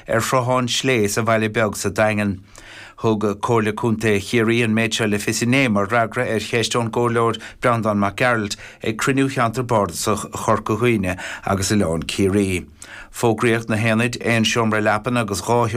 Ar Shruthán Slé sa Bhaile Beag sa Daingean. Thug Comhairle Contae Chiarraí an méid seo le fios inné mar fhreagra ar cheist ón gComhairleoir Breandán Mac Gearailt ag cruinniú Cheantar Bardasach Chorca Dhuibhne agus Oileán Ciarraí. Fógraíodh na haonaid, aon seomra leapan agus 2.